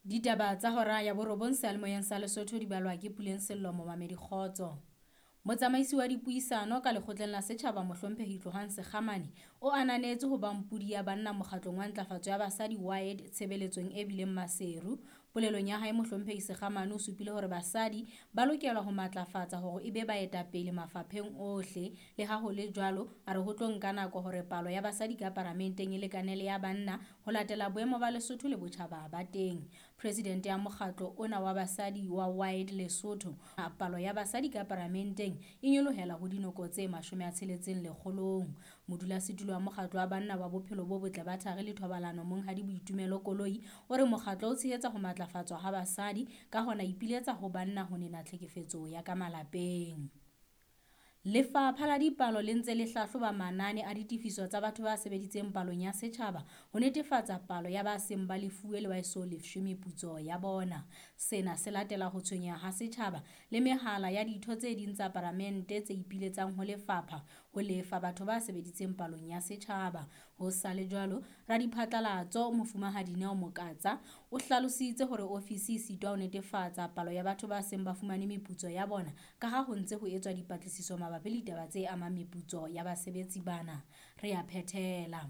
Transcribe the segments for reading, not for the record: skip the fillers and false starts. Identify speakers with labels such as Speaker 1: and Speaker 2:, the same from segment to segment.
Speaker 1: Ditaba tsa hora ya borobong seyalemoyeng sa Lesotho di balwa ke Puleng Sello momamedi Kgotso. Motsamaisi wa dipuisano ka lekgotleng la setjhaba Mohlomphehi Tlohang Sekgamane o ananetse ho ba mpudi ya banna mokgatlong wa ntlafatso ya basadi WIDE tshebeletsong e bileng Maseru. Polelong ya hae Mohlomphehi Sekgamane o supile hore basadi ba lokelwa ho matlafatsa hore e be baetapele mafapheng ohle. Le ha ho le jwalo, a re ho tlo nka nako hore palo ya basadi ka paramenteng e lekane le ya banna ho latela boemo ba Lesotho le botjhaba ba teng. Presidente ya mokgatlo ona wa basadi wa WIDE Lesotho, palo ya basadi ka paramenteng e nyolohela ho dinoko tse 60 lekgolong. Modulasetulo wa mokgatlo wa banna wa bophelo bo botle ba thari le thobalano Monghadi Boitumelo Koloi o re mokgatlo o tshehetsa ho matlafatswa ha basadi, ka hona ipiletsa ho banna ho nena tlhekefetso ya ka malapeng. Lefapha la dipalo le ntse le hlahloba manane a ditefiso tsa batho ba sebeditseng palong ya setjhaba ho netefatsa palo ya ba seng ba lefuwe le ba eso lefshwe meputso ya bona. Sena se latela ho tshwenyeha ha setjhaba le mehala ya ditho tse ding tsa paramente tse ipiletsang ho lefapha ho lefa batho ba sebeditseng palong ya setjhaba. Ho sa le jwalo, radiphatlalatso Mofumahadi Neo Mokatsa o hlalositse hore ofisi e sitwa ho netefatsa palo ya batho ba seng ba fumane meputso ya bona ka ha ho ntse ho etswa dipatlisiso mabapi le ditaba tse amang meputso ya basebetsi bana. Re a phethela.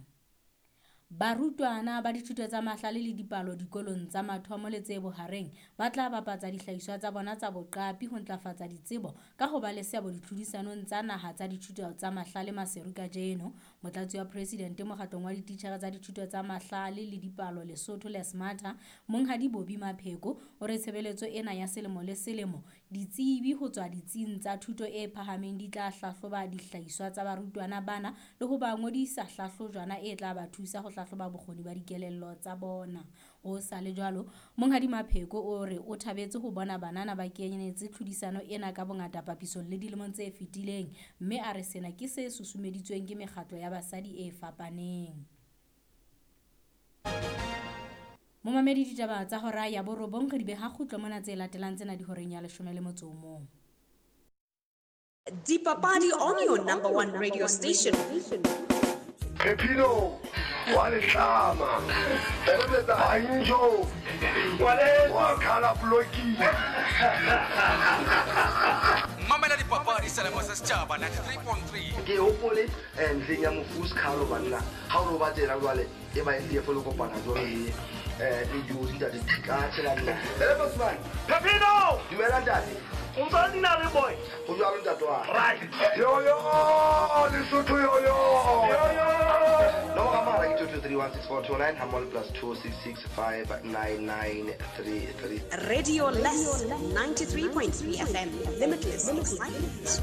Speaker 1: Barutwana ba dithuto tsa mahlale le dipalo dikolong tsa mathomo le tse bohareng ba tla bapatsa dihlahiswa tsa bona tsa boqapi ho ntlafatsa ditsebo ka ho ba le seabo ditlhodisanong tsa naha tsa dithuto tsa mahlale Maseru kajeno. Motlatsi wa presidente mokgatlong wa dititjhere tsa dithuto tsa mahlale le dipalo Lesotho le Smarta, Monghadi Bobby Mapheko o re tshebeletso ena ya selemo le selemo ditsebi ho tswa ditsing tsa thuto e phahameng di tla hlahloba dihlahiswa tsa barutwana bana le ho ba ngodisa hlahlojwana e tla ba thusa ho hlahloba bokgoni ba dikelello tsa bona. Ho sa le jwalo, Monghadi Mapheko o re o thabetse ho bona banana ba kenetse tlhodisano ena ka bongata papisong le dilemong tse fetileng, mme a re sena ke se susumeditsweng ke mekgatlo ya basadi e fapaneng. Momamedi ditaba tsa hora ya borobong re di beha kgutlo mona tse latelang tsena di horeng ya 11.
Speaker 2: Dipapadi on your number one radio station.
Speaker 3: Phephino wa letlama Banjo wa khala blocking.
Speaker 4: Mamela dipapadi selemo sa setjhaba 93.3.
Speaker 3: Ke hopole ntleng ya mofu Skhalo banna ha o ba tsela jwale e ba e fo le kopana jwale le le jozi ntate ka tshela nna. Ele Bosman.
Speaker 5: Phephino!
Speaker 3: Dumela ntate.
Speaker 5: O ntse o nna le boy.
Speaker 3: Ho jwalo ntate wa.
Speaker 5: Right.
Speaker 3: Yo yo Lesotho yo yo. Yo yo. Nomoro ya mogala ke 2231649 hammoho le +266 59933.
Speaker 2: Radio Less 93.3 FM. Limitless excitement.